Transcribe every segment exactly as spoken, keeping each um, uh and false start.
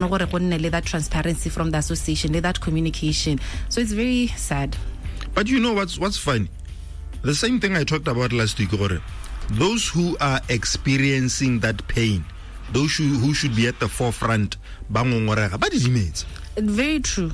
Gore go nne le that transparency from the association, le that communication. So it's very sad. But you know what's what's funny? The same thing I talked about last week, gore those who are experiencing that pain, those who, who should be at the forefront, ba ngongorega, ba didimetse. Very true.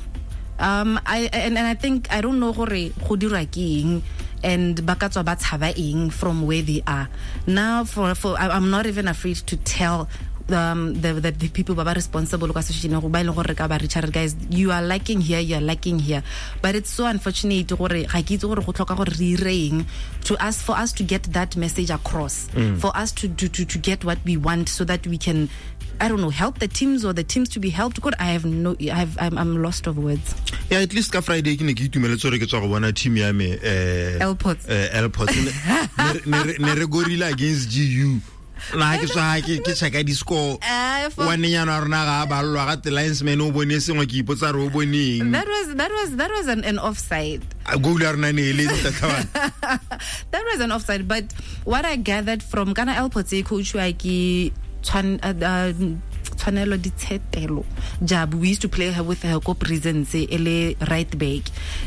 Um, I and, and I think I don't know gore go dirwa ke eng and ba ka tswa ba tshaba eng from where they are now. For for I, I'm not even afraid to tell um, the, the the people ba ba responsible kwa association go ba e leng gore re ka ba reach guys, you are lacking here, you are lacking here. But it's so unfortunate gore ga ke itse gore go tlhoka gore re ire eng to us for us to get that message across, Mm. for us to, to to to get what we want so that we can, I don't know, help the teams or the teams to be helped. God, I have no, I have, I'm, I'm lost of words. Yeah, at least ka Friday ke ne ke itumeletse gore ke tswa go bona team ya me, eh, Airports. eh, Airports. Ne ne ne ne re gorilla against G U. Na ke tswa ke ke checka di score. Uh, for One nyana wa rona ga a ballwa ga te linesman o bone sengwe ke ipotsa re o boneng. That was, that was, that was an, an offside. A goal ya rona ne e le ntathabana. That was an offside. But what I gathered from Ghana Airports e coach wa ke tshwan, uh, uh, Tshwanelo Ditshetelo Jabu, we used to play her with her ko prisons e le right back,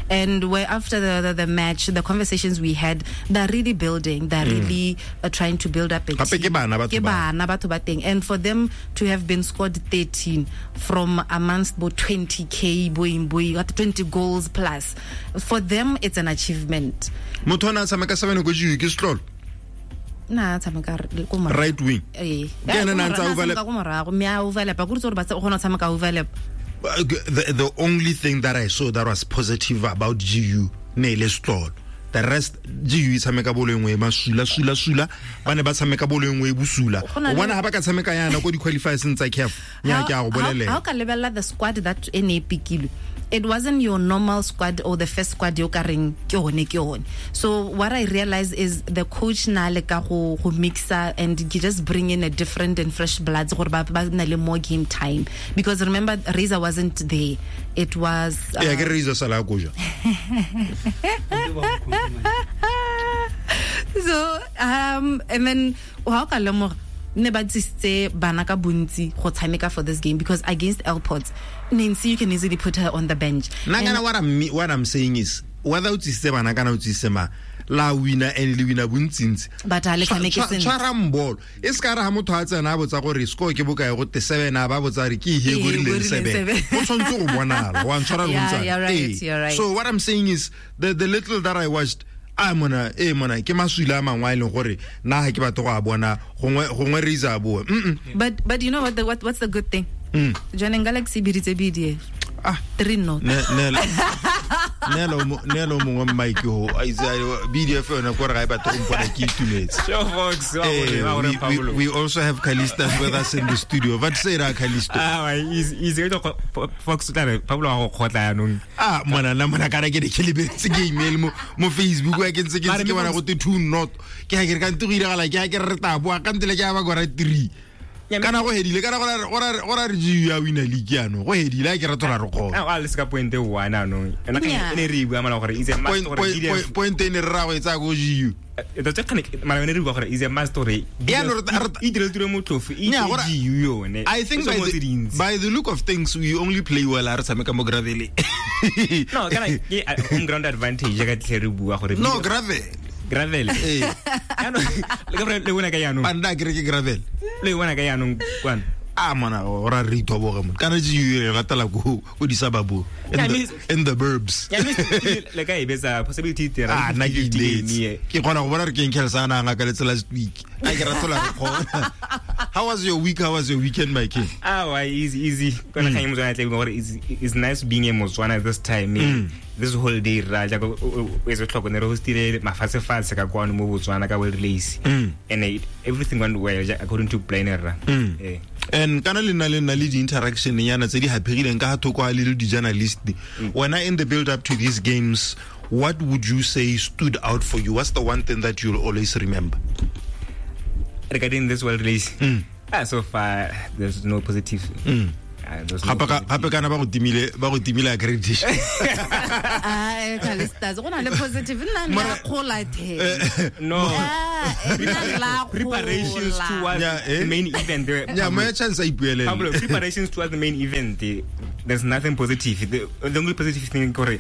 and where after the, the, the match, the conversations we had, they're really building, they're Mm. really, uh, trying to build up a Gape ke team. bana batho Ke ba. bana batho ba teng. And for them to have been scored thirteen from amongst bo twenty K boy boy at twenty goals plus, for them it's an achievement. Motho ona a tshameka seven ko G U ke Setlolo. Na tshameka re-, ko morago. Right wing. Ee. Ke ene na ntse a Na overlap. tshameka ko morago, mme a overlap. Ko re itse gore ba tse-, o kgona go tshameka overlap. Uh, the, the only thing that I saw that was positive about G U ne le Setlolo. The rest, G U e tshameka bolo e nngwe e masula, sula, sula. Ba ne ba tshameka bolo e nngwe e bosula. Go na O le bona ha ba ka tshameka yana ko di-qualifiers tsa C A F, nya ke a go Ha-, ha-, bolelela. ha o ka lebella the squad that e ne e pikilwe, it wasn't your normal squad or the first squad yo ka reng ke yone, ke yone. So what I realized is the coach na le ka go, go mixa and he just bring in a different and fresh bloods gore ba, ba na le more game time. Because remember, Reza wasn't there. It was, uh, Yeah, ke Reza sala ko ja. So, um, and then ha o ka lemoga, ne ba tsisitse bana ka bontsi go tshameka for this game because against Airports, Nancy, you can easily put her on the bench. Nna And kana what I'm, what I'm saying is, whether o tsisitse bana kana o tsisitse ma, la wina and le wina bontsintsi. But ha le Tshwa-, tshameke tshwa-, sentle. tshwarang bolo. E se ka re ha motho a tsena a botsa gore score ke bokae go te seven, a ba botsa re ke e Ke go e rileng gorileng seven. seven. Go tshwanetse go bonala, wa ntshwara le Yeah, go ntshwara. you're right, Ee. you're right. So what I'm saying is, the, the little that I watched, a mona, e mona, ke masula a mangwe a e leng gore nna ha ke batle go a bona, gongwe, gongwe re isa a boa. Mm-mm. But, but you know what, the, what, what's the good thing? Mm. Jwaneng Galaxy biditse B D F. Ah. Three no. Ne, ne, Nelo mo, Nelo mongwe Mike ho, a itse a, B D F yone kore ga e batle go mpona ke itumetse. Sure, folks. Wa Eh, gore, wa gore we, we, Pablo. we also have Callistus with us in the studio. What say ra Callisto? Ah, wa, easy, easy. Go to, folks, tla re, Pablo wa go kgotla yanong. Ah, mona, nna mona kana ke ne ke lebeletse game e le mo, mo Facebook, wa ke ntse ke ntse ke bona go te two not. Ke ha ke re kante go iragala, ke ha ke re re tla boa, kante le ke ha ba kora three. Yeah, Kana go hedile, kana go ra re, go ra re, go ra re G U ya wina league yanong. Go hedile, ha ke re thola re kgona. Ah, wa le seka point e one anong. Ena ke Yeah. e ne re bua mala gore is a must Point, gore point, B D F point, point e ne re ra go e tsaya ko G U. Eh, tota kgane ke, mara ne re bua gore is a must gore Yeah, no, re ta-, re ta-, e dire tiro motlhofo, e Nya, tle gore G U yone. I think E tswa by mo the, tse dintsi. by the look of things, we only play well ha re tshameka mo gravel. No, kana ke, eh, home ground advantage ka tle re bua gore No, B D F gravel. Gravel. Eh. Jaanong, le ka gore le bona ka jaanong. Panda ke re ke gravel. Le bona ka jaanong kwana. Ah, mona, o ra re ithoboge mona. Kana G U e ratela ko, ko di-suburb-ong. In Yeah, the, miss- in the burbs. Yeah, miss, le ka e betsa possibility tera. Ah, nna ke Fifty iletse. game, yeah. Ke kgona go bona re ke eng Kelsa a na a ngakaletse last week. A ke ratola re kgona. How was your week? How was your weekend, my king? Ah, why, easy, easy. Kona Mm. kgang e Motswana tla bua gore it's, it's nice being a Motswana this time. Eh. Mm. This whole day, ra, jaaka o, o, o, o etse tlhoko, ne re hostile mafatshefatshe ka kwano mo Botswana ka World Relays. Mm. And it, everything went well, ja, according to plan, ra. Mm. Eh. And kana le nna le nna le di-interaction nyana tse di haphegileng ka ha thoko ha le le di-journalist. Mm. Wena in the build up to these games, what would you say stood out for you? What's the one thing that you'll always remember? Regarding this World Relays? Mm. Ah, so far, there's no positive. Mm. Ah, there's no Gape ka, positive. gape kana ba go timile, ba go timile accreditation. Ah, Callistus, go na le positive, nna nna Mara kgola the. No. Ah. Preparations towards yeah, eh? the main event. Yeah, my chance I Pablo, preparations towards the main event. Eh, there's nothing positive. The, the only positive thing gore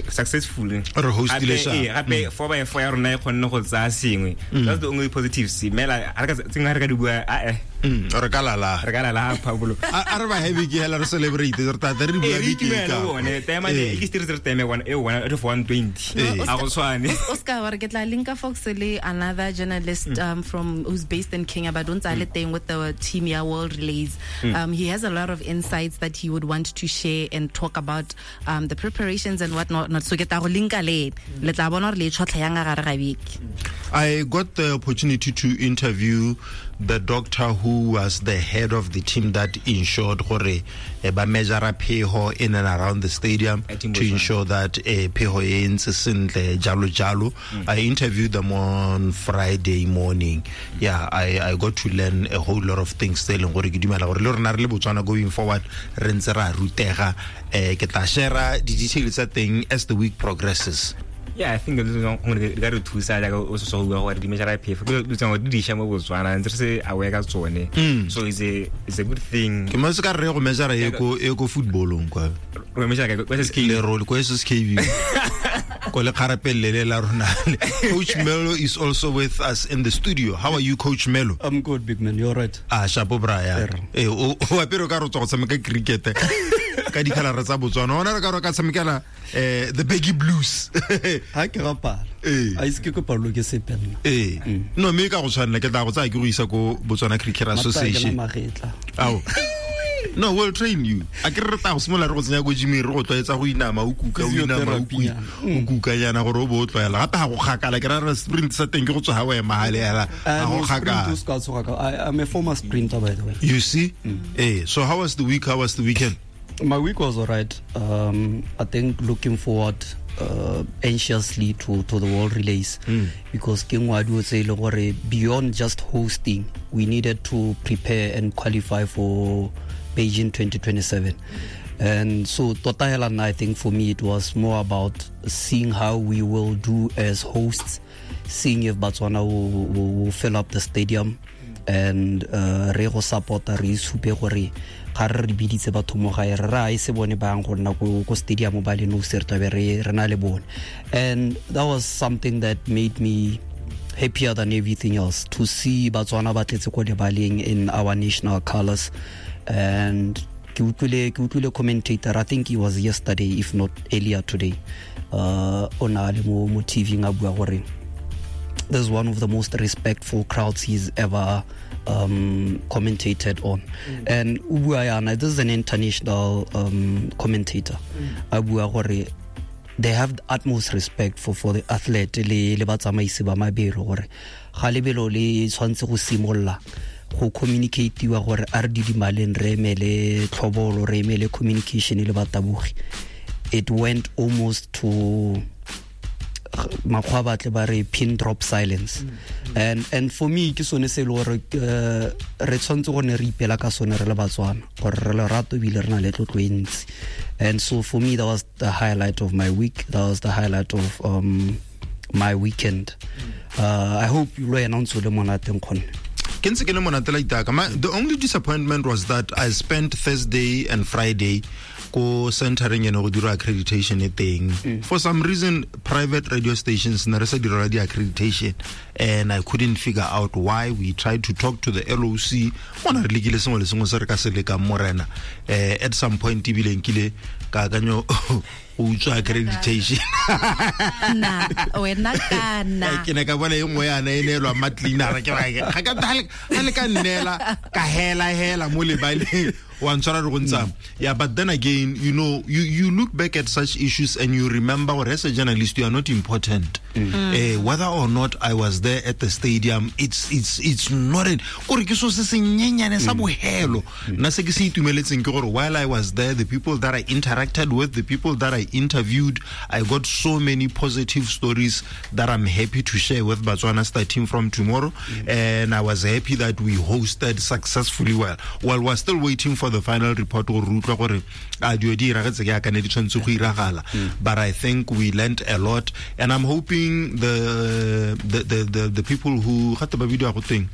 successful. Re hostile sha. Gape four by four ya rona e kgonne go tsaya sengwe. That's the only positive. Mela a re ka tsengwe re ka di bua a eh. Mm, re ka lala. Re ka lala Pablo. A re ba happy ke hela re celebrate re tata re bua ke ka. Bone tema e ke se re teme one e one out of one twenty. A go tshwane. Oscar wa re ke tla linka Fox le another journalist mm. um, from who's based in Kenya but don't mm. thing with the team ya World Relays. Mm. Um, he has a lot of insights that he would want to share and talk about um, the preparations and whatnot. Not so ke tla go linka le le tla bona re le tshotla yang ga re ga beke. I got the opportunity to interview the doctor who was the head of the team that ensured gore ba measure pheho in and around the stadium to ensure that pheho e ntse sentle jalo jalo. I interviewed them on Friday morning. Yeah, I I got to learn a whole lot of things tse leng gore ke dumela gore le rona re le Botswana going forward re ntse ra rutega eh ke tla share di details tsa teng as the week progresses. Yeah, I think gore ka re thusa like o so bua gore di measure phefo ke lo tsang di disha mo Botswana ntse se aware ka tsone. So it's a it's a good thing. Ke mo se ka re go measure e ko e ko footballong kwa. Re measure ka ko S S K le role ko S S K B. Ko le kgarapelle la rona. Coach Melo is also with us in the studio. How are you, Coach Melo? I'm good, big man. You're right. Ah, shapo bra ya. Eh o o apere ka re tswa go tshameka cricket. Ka dikhalara tsa Botswana. Ona re ka re ka tshamekela eh the Baggy Blues. Ha ke rapala. A ise ke pallo ke sepe nna. Eh. No me ka go tshwanela ke tla go tsaya ke go isa ko Botswana Cricket Association. Ao. No, we'll train you. A ke re tla go simolola re go tsenya ko gym re go tlwaetsa go inama o kuka o inama o kuka o kuka yana gore o bo o tlwaela gape ga go kgakala ke ra re sprint sa teng ke go tswa ha o ema hale hela ga go kgakala. I'm a former sprinter, by the way. You see? Mm. Eh, so how was the week? How was the weekend? My week was all right. Um, I think looking forward uh, anxiously to, to the World Relays mm. because King Wadu would say beyond just hosting, we needed to prepare and qualify for Beijing twenty twenty-seven. And so tota hela nna, I think for me it was more about seeing how we will do as hosts, seeing if Botswana will, will, will fill up the stadium and uh, re go support re supe gore ga re re biditse batho mo gae re ra e se bone ba yang go nna ko ko stadium ba le no se re tlabe re re na le bone. And that was something that made me happier than everything else, to see Botswana ba tletse ko lebaleng in our national colors. And ke utlwile ke utlwile commentator, I think it was yesterday if not earlier today, uh ona le mo mo T V nga bua gore this is one of the most respectful crowds he's ever um, commentated on. Mm. And o bua yana, this is an international um, commentator. A bua gore they have the utmost respect for, for the athlete le le batsamaisi ba mabelo gore ga lebelo le tshwantse go simolla go communicateiwa gore a re didimaleng re emele tlhobolo re emele communication le batabogi. It went almost to makgwa batle ba re pin drop silence. Mm. And and for me ke sone se le gore re tshwantse go ne re ipela ka sone re le Batswana gore re lerato ebile re na le tlotlo e ntsi. And so for me that was the highlight of my week, that was the highlight of um, my weekend. Uh, I hope you lo ena ntse le monate nkgonne. Ke ntse ke le monate la itaka. The only disappointment was that I spent Thursday and Friday ko centering ene go dira accreditation e teng. For some reason private radio stations ne re sa dira di accreditation and I couldn't figure out why. We tried to talk to the L O C mona re lekile sengwe le sengwe se re ka se lekang morena. Eh, at some point ebile nkile ka akanyo o utswa accreditation. Na wena kana ke ne ka bona e nngwe yana e neelwa ma cleaner ke ba ga ka ha le ka nnela ka hela hela mo lebaleng wa ntshwara re go ntsa. Yeah, but then again, you know, you you look back at such issues and you remember as a journalist you are not important. Mm. Eh, whether or not I was there at the stadium, it's it's it's not it gore ke so se senyenyane sa bohelo nna se ke se itumeletseng ke gore while I was there, the people that I interacted with, the people that I interviewed, I got so many positive stories that I'm happy to share with Botswana starting from tomorrow. Mm. And I was happy that we hosted successfully well. Well, we're still waiting for for the final report go re utlwa gore a dio di iragetse ke akane di tshwanetse go iragala. But I think we learned a lot, and I'm hoping the the the the, the people who gate ba bidiwa go teng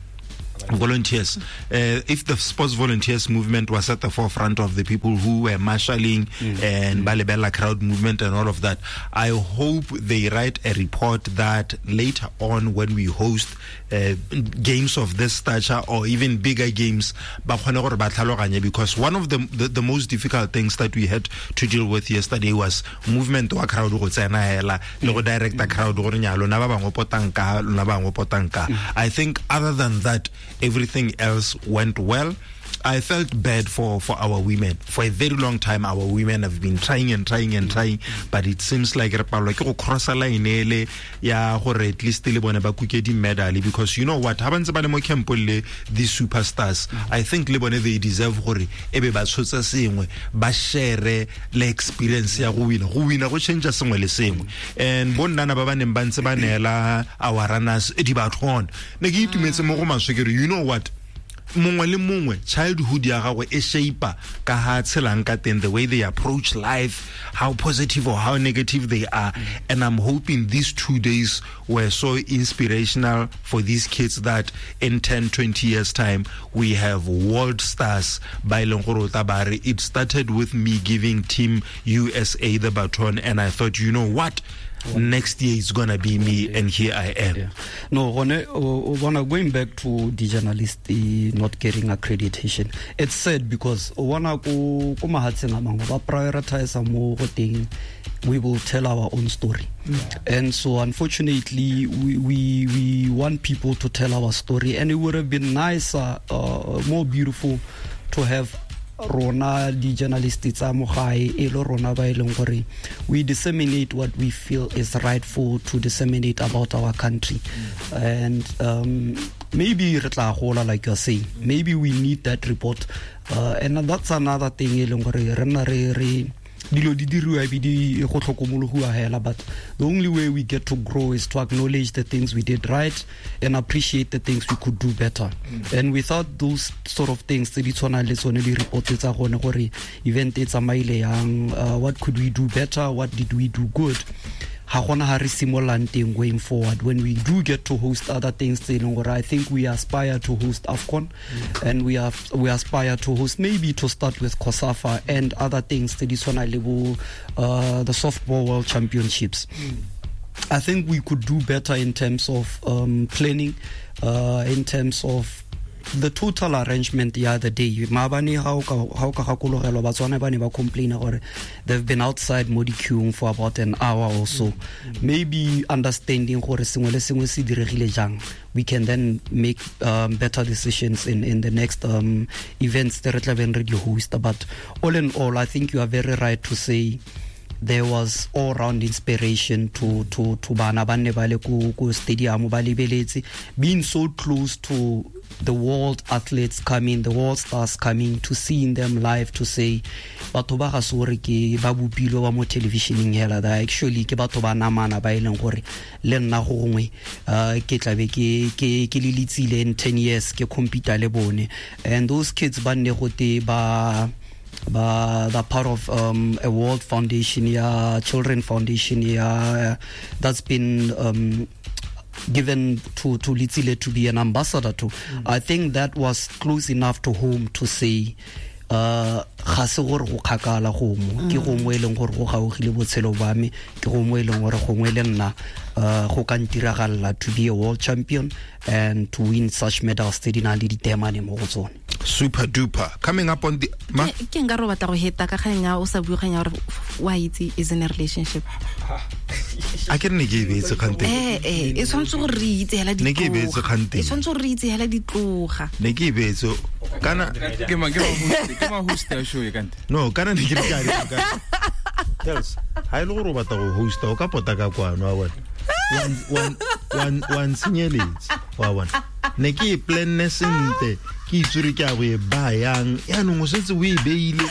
volunteers, uh, if the sports volunteers movement was at the forefront of the people who were marshalling mm. and Balebella crowd movement and all of that, I hope they write a report that later on when we host uh, games of this stature or even bigger games, ba kgone gore ba tlhaloganye, because one of the, the, the most difficult things that we had to deal with yesterday was movement wa crowd go tsena hela le go direct the crowd gore nya lona ba bangwe potang ka lona ba bangwe potang ka. I think other than that, everything else went well. I felt bad for, for our women. For a very long time, our women have been trying and trying and trying, but it seems like re palelwa ke go crossa line ele ya gore at least le bone ba kuke di medal, because you know what, ha ba ntse ba le mo camp le these superstars, I think le bone they deserve gore e be ba tshotse sengwe, ba share le experience ya go wina, go wina go change sengwe le sengwe. And bonnana ba ba neng ba ntse ba neela our runners di baton, ne ke itumetse mo go maswe ke re, you know what, mongwe le mongwe childhood ya gagwe e shape ka ha tshelang ka teng, the way they approach life, how positive or how negative they are. Mm. And I'm hoping these two days were so inspirational for these kids that in ten, twenty years time we have world stars. Ba e leng gore o tla ba re, it started with me giving Team U S A the baton, and I thought, you know what, next year it's gonna be me, and here I am. Yeah. No, gone, going back to the journalist uh, not getting accreditation, it's sad because wana ko ko mahatsheng a mangwe ba prioritize mo go teng, we will tell our own story. Yeah. And so unfortunately we, we we want people to tell our story, and it would have been nicer, uh, more beautiful to have rona di journalist tsa mo gae e le rona ba e leng gore we disseminate what we feel is rightful to disseminate about our country. Mm. And um, maybe re tla gola, like you're saying, maybe we need that report, uh, and that's another thing e leng gore re nna re re dilo di diriwa e be di go tlhokomologiwa hela, but the only way we get to grow is to acknowledge the things we did right and appreciate the things we could do better. Mm. And without those sort of things tse di tshwanang le tsone di report tsa gone gore event e tsamaile yang, uh, what could we do better, what did we do good, ha gona ha re simollang teng going forward when we do get to host other things tse leng gore I think we aspire to host AFCON, mm. and we are we aspire to host, maybe to start with COSAFA and other things tse di tshwana le bo uh, the softball world championships. Mm. I think we could do better in terms of um, planning, uh, in terms of the total arrangement the other day. Maabane ha o ka ha o ka gakologelwa, Batswana ba ne ba complain gore they've been outside mo di queuing for about an hour or so. Mm. Maybe understanding gore sengwe le sengwe se diregile jang, we can then make um, better decisions in, in the next um, events tse re tla beng re di host. But all in all, I think you are very right to say there was all-round inspiration to to to bana ba ne ba le ko ko stadium ba lebeletse, being so close to the world athletes coming, the world stars coming, to seeing them live, to say batho ba ga se gore ke ba bopilwe ba mo televisioneng hela, that actually ke batho ba namana ba e leng gore le nna go gongwe uh, ke tlabe ke ke ke le letsile in ten years ke compete le bone. And those kids ba nne gote ba ba the part of um, a world foundation, yeah, children foundation, yeah, that's been um, given to to Letsile to be an ambassador to. Mm. I think that was close enough to home to say uh ga se gore go kgakala go mo ke gongwe e leng gore go gaogile botshelo ba me, ke gongwe e leng gore gongwe le nna uh go ka ntiragalla to be a world champion and to win such medals tse di nang le ditemane mo go tsone. Super duper. Coming up on the ma ke nka re batla go heta ka kgang ya o sa bue kgang ya gore wa itse is in a relationship. A ke ne ke e beetse kgante. Eh eh e tshwanetse gore re itse hela Ne ke e beetse kgante. E tshwanetse gore re itse hela ditloga. Ne ke e beetse kana ke ma ke ma host ke ma host ya show e kante. No, kana ne ke re ka re ka. Tels, ha ile gore o batla go hosta o ka pota ka kwano wa bona. One one one senyeletse wa bona. Ne ke e planne sentle, ke itse gore ke a go e bayang, yaanong o setse o e beile.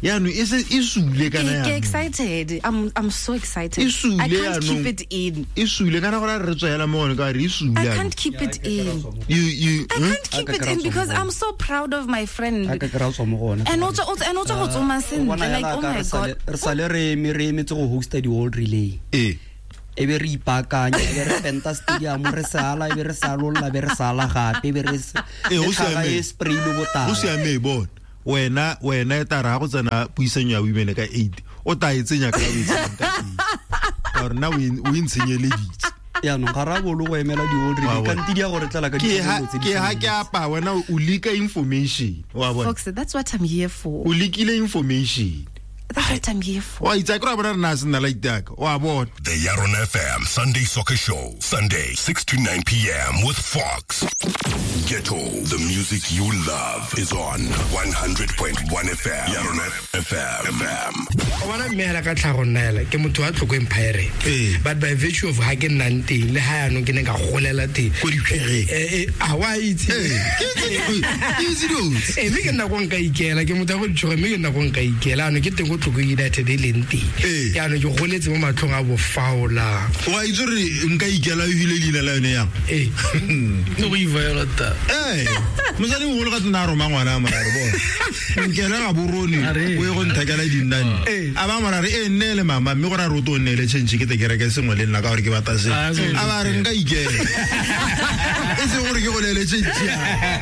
Yaanong e se e sule kana Ke yaanong. excited. I'm I'm so excited. E sule I can't keep yaanong. it in. E sule kana gore re tswela mo gone ka re e sule. I yaanong. can't keep it in. You you I hmm? can't keep it in because I'm so proud of my friend. A ka kry-a tswa mo go ona. And also and also go tsoma O sentle bona like hela oh ka my re sale- god. re sale re eme re emetse go hosta di-world relay Eh. e be re ipaakanya e be re penta stadium re sala e be re salolla be re sala gape e be re se- Eh, le go tlhaga siame. e sprayile botala Go siame bona. Wena wena e tara go tsena puisanyo ya women ka eight. O ta e tsenya ka o e tsenya ka eight. Ka gore nna o e o e ntshenyeleditse. yaanong ga ra bolo go emela di-world Wa relay bona. kante di ya gore tlela ka Ke ha ditshwanelo tse di ke ha ke tshwanang. apa wena o leaka information. Wa bona. Fox, that's what I'm here for. O leakile information. That's what I'm here for. Wa itse akere wa bona re na se nna like that. Wa bona. The Yaron F M Sunday Soccer Show, Sunday, six to nine p m with Fox. Ghetto, the music you love is on one hundred point one F M. Yaron F M. F M. O bona mme hela ka tlhago nna hela ke motho wa Tlokwe Pirate. Ee. But by virtue of ha ke nnang teng le ha yanong ke ne ka golela teng. Ko dikgwereng. Eh, eh, a wa itse. Eh, ke itse di- ke itse dilo tse. Eh, mme ke nna ko nka ikela ke motho wa go ditshoga mme ke nna ko nka ikela anong ke teng ko Tlokwe United e leng teng. Ee. Jaanong ke goletse mo matlhong a bofaola. Wa itse gore nka ikela o hile leina la yone yang. Ee. Le go iviolata. Ee, mosadi mogolo ka tsena a roma ngwana a morare bona. Nkele ga borone Are. o ye go nthekela dinnane. Ee. A ba morare e nne le mama mme gore a re o tlo nneele change ke te ke reke sengwe le nna ka gore ke batla se. Ah, so- A ba re nka ikela. E seng gore ke go neele change ya.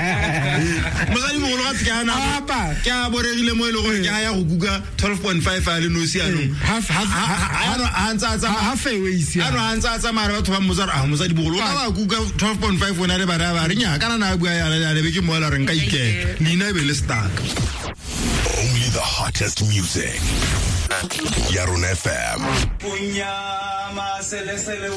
Ee. Mosadi mogolo ga ke ana Apa. ke a boregile mo e leng gore ke a ya go kuka twelve point five a le nosi anong. Half half A no a ntse a tsamaya half a ways a no a ntse a tsamaya le batho ba mmotsa gore a mosadi bogolo o ka ba kuka twelve point five o na le bana ba re nnyaa kana na a bua yana le yana, be ke moela re nka ikela leina e be le stuck. Only the hottest music. Yaron F M. Punyama, sele sele.